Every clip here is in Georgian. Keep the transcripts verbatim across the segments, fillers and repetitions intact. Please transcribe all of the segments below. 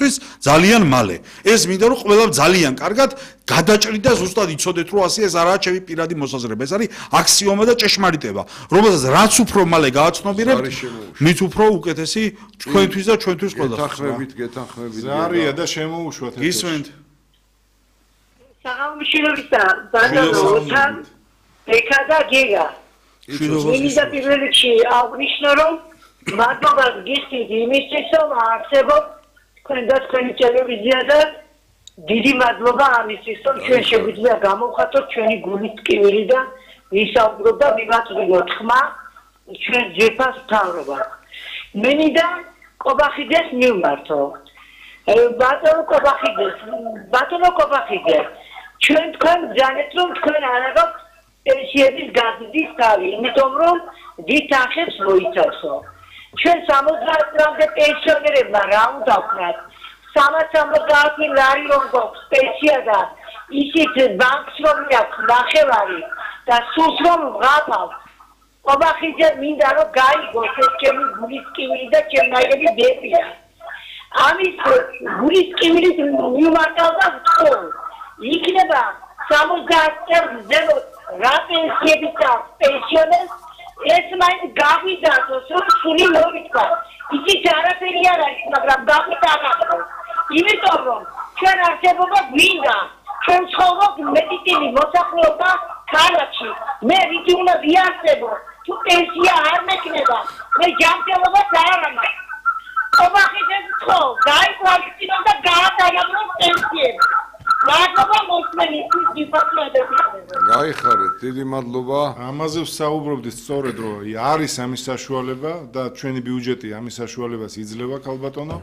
ჩვენთვის ძალიან მალე. ეს მინდა რომ ყველა ძალიან კარგად გადაჭრიდა ზუსტად იცოდეთ რომ ასე ეს არაა ჩემი პირადი მოსაზრება. ეს არის აქსიომა და ჭეშმარიტება, რომელსაც რაც უფრო მალე გააცნობიერებთ, მით უფრო უკეთესი ჩვენთვის და ჩვენთვის ყველას. გეთანხმებით, გეთანხმებით. ზარია და შემოუშვათ. გისმენთ. საღამოშილობისა, ბანანოთან ეკა და გიგა. მინდა პირველ რიგში აღნიშნო რომ მადლობა გიხდით იმისთვის რომ არსებობს თქვენ და თქვენი ტელევიზია და დიდი მადლობა ამისთვის რომ ჩვენ შეგვიძლია გამოვხატოთ ჩვენი გულის ტკივილი და ვისაუბროთ და მივაწვდოთ ხმა ჩვენ ძვირფას მთავრობა. მე მინდა კობახიძეს მივმართო. ბატონო კობახიძეს, ბატონო კობახიძე, ჩვენ თქვენ ბრძანეთ რომ თქვენ არ აქვთ პენსიების გაზრდის თავი, იმიტომ რომ დიდ თანხებს მოიცავსო. ჩვენ სამოცდაათ წლამდე პენსიონერებმა რა უნდა ვქნათ? სამას სამოცდაათი ლარი რომ გვაქვს პენსია და ისიც ბანკს რომ აქვს ნახევარი და სულს რომ ვღაფავთ. კობახიძე მინდა რომ გაიგოს ეს ჩემი გულის ტკივილი და ჩემნაირები ბებია. ამის გულის ტკივილის მიმართავდა ვთქო. იქნება სამოცდაათ წელს ზემოთ რა პენსიები აქვს პენსიონერს ეს მაინც გავიდათოს რომ სული მოვიწყო. ისიც არაფერი არ არის, მაგრამ გავიდათოს. იმიტომ რომ ჩვენ არსებობა გვინდა. ჩვენ ცხოვრობთ მედიცინი მოსახლეობა ქალაქში. მე რითი უნდა ვიარსებო? თუ პენსია არ მექნება, მე ჯანმრთელობას არ ამაქვს. კობახიძე ხო, გაიყვანო და გაატარებო პენსიები. მადლობა მოსმენისთვის დიპლომატები. გაიხარეთ, დიდი მადლობა. ამაზე ვსაუბრობდით სწორედ რომ არის ამის საშუალება და ჩვენი ბიუჯეტი ამის საშუალებას იძლევა ქალბატონო.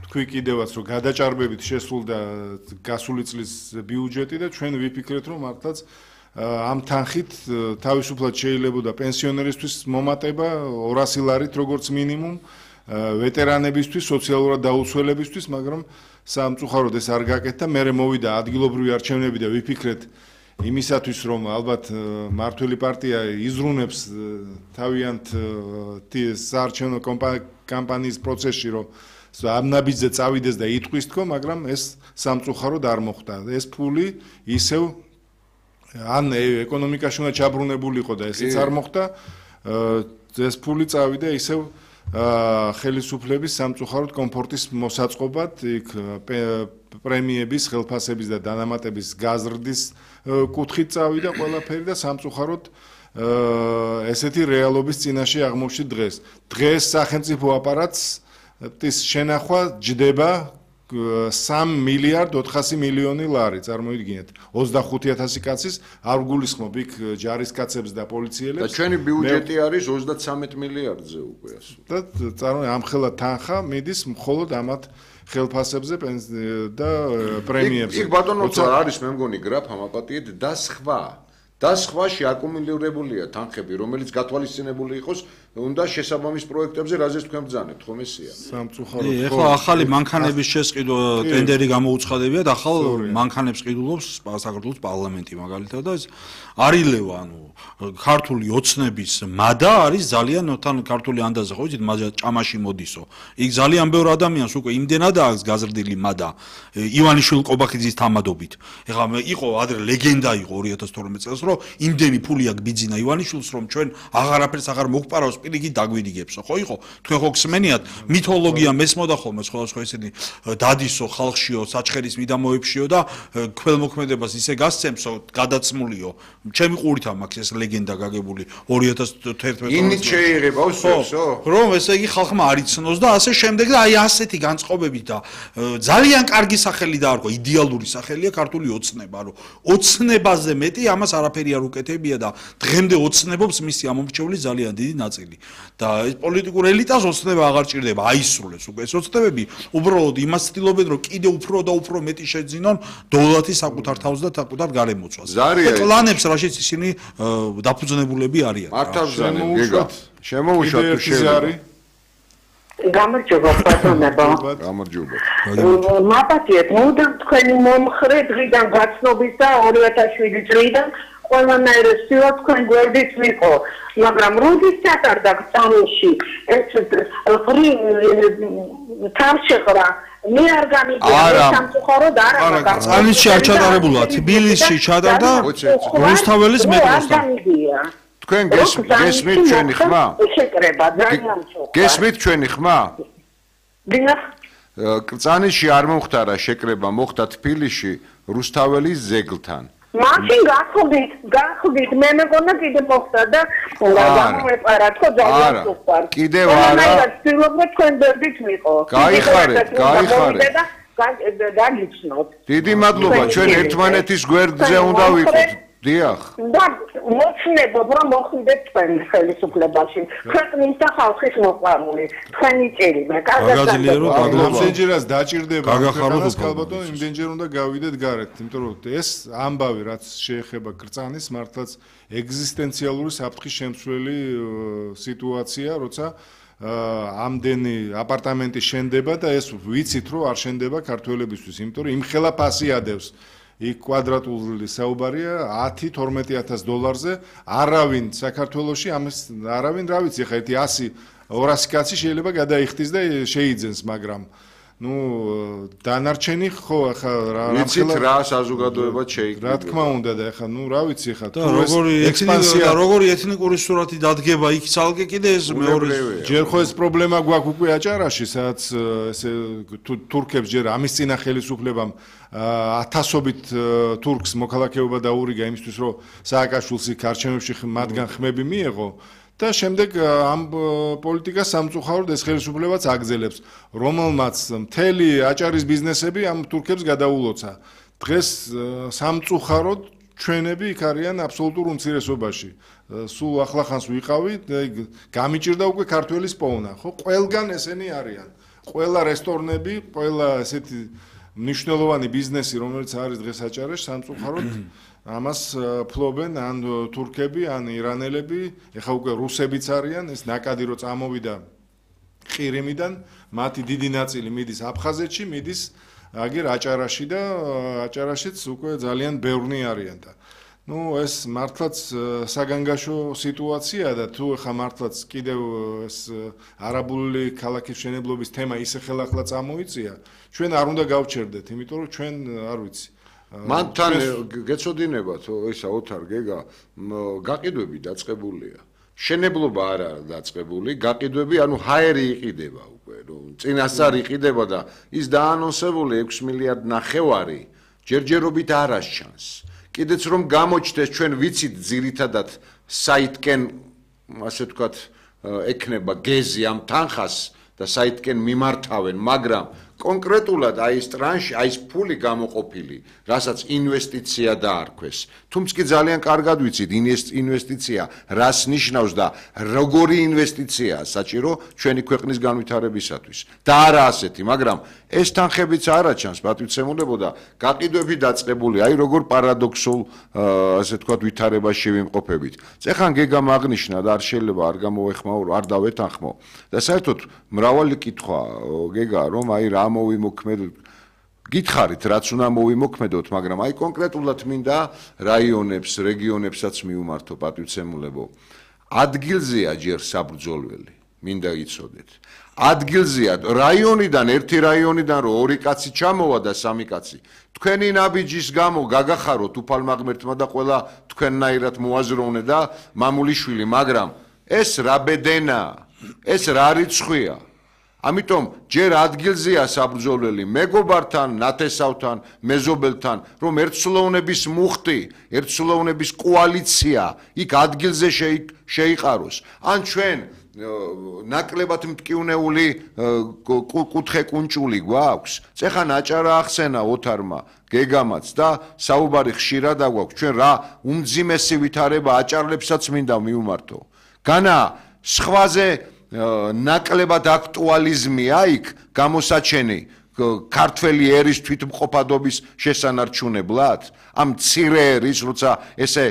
თქვი კიდევაც რომ გადაჭარბებით შესულდა გასული წლის ბიუჯეტი და ჩვენ ვიფიქრეთ რომ მართლაც ამ თანხით თავისუფლად შეიძლებოდა პენსიონერისთვის მომატება ორასი ლარით როგორც მინიმუმ, ვეტერანებისთვის, სოციალურად დაუცველებისთვის, მაგრამ სამწუხაროდ ეს არ გაკეთდა. მერე მოვიდა ადგილობრივი არჩევნები და ვიფიქრეთ იმისათვის რომ ალბათ მართველი პარტია იზრუნებს თავიანთ საარჩევნო კამპანიის პროცესში რომ ამ ნაბიჯზე წავიდეს და იტყვის თქო, მაგრამ ეს სამწუხაროდ არ მოხდა. ეს ფული ისევ ან ეკონომიკაში უნდა ჩაბრუნებული იყო და ესეც არ მოხდა. ეს ფული წავიდა ისევ ხელისუფლების სამწუხაროდ კომფორტის მოსაწყობად, იქ პრემიების, ხელფასების და დანამატების გაზრდის კუთხით წავიდა ყველაფერი და სამწუხაროდ ესეთი რეალობის წინაშე აღმოჩნდა დღეს. დღეს სახელმწიფო აპარატს ის შენახვა ჯდება სამ მილიარდ ოთხასი მილიონი ლარი, წარმოიდგინეთ. ოცდახუთი ათასი კაცის არ გულისხმობ იქ ჯარისკაცებს და პოლიციელებს. და ჩვენი ბიუჯეტი არის ოცდათსამეტ მილიარდზე უკვე ასე. და წარმოიდგინეთ ამხელა თანხა მიდის მხოლოდ ამათ ხელფასებზე და პრემიებზე. იქ ბატონო არის მე მგონი გრაფ ამაპატიეთ და სხვა და სხვაში აკუმულირებულია თანხები, რომელიც გათვალისწინებული იყოს უნდა შესაბამის პროექტებზე, რაზეც თქვენ ბრძანებთ, ხომ ესეა? სამწუხაროდ. ეხლა ახალი მანქანების შესყიდვა ტენდერი გამოუცხადებია და ახალ მანქანებს ყიდულობს საქართველოს პარლამენტი მაგალითად და ეს არილევა, ანუ ქართული ოცნების მადა არის ძალიან თან ქართული ანდაზე ხო იცით, მაგა ჭამაში მოდისო. იქ ძალიან ბევრ ადამიანს უკვე იმდენად აქვს გაზრდილი მადა ივანიშვილ კობახიძის თამადობით. ეხლა იყო ადრე ლეგენდა იყო ორი ათას თორმეტ წელს რომ იმდენი ფული აქვს ბიძინა ივანიშვილს რომ ჩვენ აღარაფერს აღარ მოგპარავს პირიქით დაგვიდგებსო ხო იყო თქვენ ხო გსმენიათ მითოლოგია მესმოდა ხოლმე სხვადასხვა ესეთი დადისო ხალხშიო საჩხერის მიდამოებშიო და ქველმოქმედებას ისე გასცემსო გადაცმულიო ჩემი ყურით მაქვს ეს ლეგენდა გაგებული ორი ათას თერთმეტ წელს ინით შეიღებავს ესო რომ ესე იგი ხალხმა არ იცნოს და ასე შემდეგ და აი ასეთი განწყობებით და ძალიან კარგი სახელი დაარქვა იდეალური სახელია ქართული ოცნება რომ ოცნებაზე მეტი ამას არაფერი არ უკეთებია და დღემდე ოცნებობს მისი ამომრჩევლის ძალიან დიდი ნაწილი და ეს პოლიტიკურ ელიტას ოცნება აღარ ჭირდება აისრულებს უკვე ეს ოცნებები უბრალოდ იმას ცდილობენ რომ კიდე უფრო და უფრო მეტი შეძინონ დოლათი საკუთარ თავს და საკუთარ გარემოცვას პლანებს რაშიც ისინი დაფუძნებულები არიან მართავს შემოუშვათ შემოუშვათ თუ შეიძლება გამარჯობა ბატონებო გამარჯობა მაპატიეთ მოდამ თქვენი მომხრე დღიდან გაცნობის და ორი ათას შვიდი წლიდან ყველანაირ სილა თქვენ გვერდით ვიყო მაგრამ როდის ჩატარდა წამში ეს თავშეყრა მე არ გამიგია სამწუხაროდ არა მაგრამ წანისში არ ჩატარებულა თბილისში ჩატარდა რუსთაველის მეტროსთან თქვენ გესმით ჩვენი ხმა შეკრება ძალიან მწუხარ გესმით ჩვენი ხმა დიახ წანისში არ მომხდარა შეკრება მოხდა თბილისში რუსთაველის ზეგლთან მაშინ გახდით გახდით მე მეგონა კიდე მოხდა და გამოვეპარა თქო ძალიან სუპარ კიდევ არა ვცდილობ თქვენ ბერდით მიყო გაიხარეთ გაიხარეთ და დაგიცნოთ დიდი მადლობა ჩვენ ერთმანეთის გვერდზე უნდა ვიყოთ დიახ და მოწნებობ რომ მოხვიდეთ თქვენ ხელისუფლებაში ქვეყნის და ხალხის მოყვარული თქვენი ჭირიმე გაგაზილირო იმდენჯერაც დაჭირდება ქვეყანას ქალბატონო იმდენჯერ უნდა გავიდეთ გარეთ იმიტომ რომ ეს ამბავი რაც შეეხება კრწანის მართლაც ეგზისტენციალური საფრთხის შემცვლელი სიტუაცია როცა ამდენი აპარტამენტი შენდება და ეს ვიცით რომ არ შენდება ქართველებისთვის იმიტომ რომ იმხელა ფასი ადევს იქ კვადრატული საუბარია ათი თორმეტი ათას დოლარზე არავინ საქართველოში ამის არავინ რა ვიცი ხა ერთი ასი ორასი კაცი შეიძლება გადაიხტის და შეიძენს მაგრამ ну დანარჩენი ხო ხა რა ვიცით რა საზოგადოება შეიკრიბა რა თქმა უნდა და ხა ну რა ვიცი ხა თუ როგორი ექსპანსია როგორი ეთნიკური სურათი დადგება იქ ცალკე კიდე ეს მეორე ჯერ ხო ეს პრობლემა გვაქვს უკვე აჭარაში სადაც ესე თურქებს ჯერ ამის წინა ხელისუფლებამ ათასობით თურქს მოქალაქეობა დაურიგა იმისთვის რომ სააკაშვილს იქ არჩევნებში მათგან ხმები მიეღო და შემდეგ ამ პოლიტიკას სამწუხაროდ ეს ხელისუფლებაც აგზელებს რომელმაც მთელი აჭარის ბიზნესები ამ თურქებს გადაულოცა დღეს სამწუხაროდ ჩვენები იქ არიან აბსოლუტურ უმცირესობაში სულ ახლახანს ვიყავი გამიჭირდა უკვე ქართველის პოვნა ხო ყველგან ესენი არიან ყველა რესტორნები ყველა ესეთი მნიშვნელოვანი ბიზნესი რომელიც არის დღეს აჭარაში სამწუხაროდ ამას ფლობენ ან თურქები ან ირანელები ეხა უკვე რუსებიც არიან ეს ნაკადი რო წამოვიდა ყირიმიდან მათი დიდი ნაწილი მიდის აფხაზეთში მიდის აგერ აჭარაში და აჭარაშიც უკვე ძალიან ბევრნი არიან და ну ეს მართლაც საგანგაშო სიტუაცია და თუ ხა მართლაც კიდევ ეს არაბული ქალაქის მშენებლობის თემა ისე ხელახლა წამოიწია ჩვენ არ უნდა გავჩერდეთ იმიტომ რომ ჩვენ არ ვიცი მანთან გეცოდინებათ ისა ოთარ გეგა გაყიდვები დაწყებულია შენებლობა არ არის დაწყებული გაყიდვები ანუ ჰაერი იყიდება უკვე რომ წინასწარ იყიდება და ის დაანონსებული ექვსი მილიარდ ნახევარი ჯერჯერობით არ ასჩანს კიდეც რომ გამოჩნდეს ჩვენ ვიცით ძირითადად საითკენ ასე ვთქვათ ექნება გეზი ამ თანხას და საითკენ მიმართავენ მაგრამ კონკრეტულად აი ეს ტრანში აი ეს ფული გამოყოფილი რასაც ინვესტიცია დაარქვეს თუმცა კი ძალიან კარგად ვიცით ინვესტიცია რას ნიშნავს და როგორი ინვესტიციაა საჭირო ჩვენი ქვეყნის განვითარებისათვის და არა ასეთი მაგრამ ეს თანხებიც არ აჩანს პატივცემულებო და გაყიდვები დაწყებული აი როგორ პარადოქსულ ასე ვთქვათ ვითარებაში ვიმყოფებით წეხან გეგა მაგნიშნა და არ შეიძლება არ გამოეხმაურო არ დავეთანხმო და საერთოდ მრავალი კითხვა გეგა რომ აი რა მოვიმოქმედოთ გითხარით რაც უნდა მოვიმოქმედოთ მაგრამ აი კონკრეტულად მინდა რაიონებს რეგიონებსაც მიუმართო პატივცემულებო ადგილზეა ჯერ საბრძოლველი მინდა იცოდეთ ადგილზეა რაიონიდან ერთი რაიონიდან რო ორი კაცი ჩამოვა და სამი კაცი თქვენი ნაბიჯის გამო გაგახაროთ უფალმაღმერთმა და ყველა თქვენნაირად მოაზროვნე და მამულიშვილი მაგრამ ეს რა ბედენა ეს რა რიცხვია ამიტომ ჯერ ადგილზეა საბრძოლველი მეგობართან, ნათესავთან, მეზობელთან, რომ ერთსულოვნების მუხტი, ერთსულოვნების კოალიცია იქ ადგილზე შეიყაროს. ან ჩვენ ნაკლებად მტკივნეული კუთხე კუნჭული გვაქვს. წეხან აჭარა ახსენა ოთარმა, გეგამაც და საუბარი ხშირად აგვაქვს. ჩვენ რა უმძიმესი ვითარება აჭარლებსაც მინდა მივმართო. განა სხვაზე ნაკლებად აქტუალიზმია იქ გამოსაჩენი ქართველი ერის თვითმყოფადობის შესანარჩუნებლად ამ მცირე ერის როცა ესე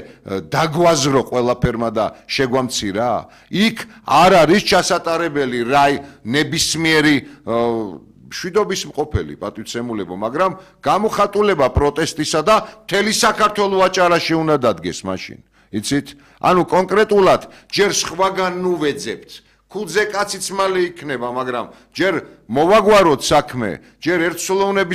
დაგვაზრო ყველაფერმა და შეგვამცირა იქ არ არის ჩასატარებელი რაი ნებისმიერი შვიდობის მყოფელი პატივცემულებო მაგრამ გამოხატულება პროტესტისა და მთელი საქართველოს აჭარაში უნდა დადგეს მაშინ იცით ანუ კონკრეტულად ჯერ სხვაგან ნუვეძებთ ფულზე კაციც მალე იქნება, მაგრამ ჯერ მოვაგვაროთ საქმე, ჯერ ერთსულოვნების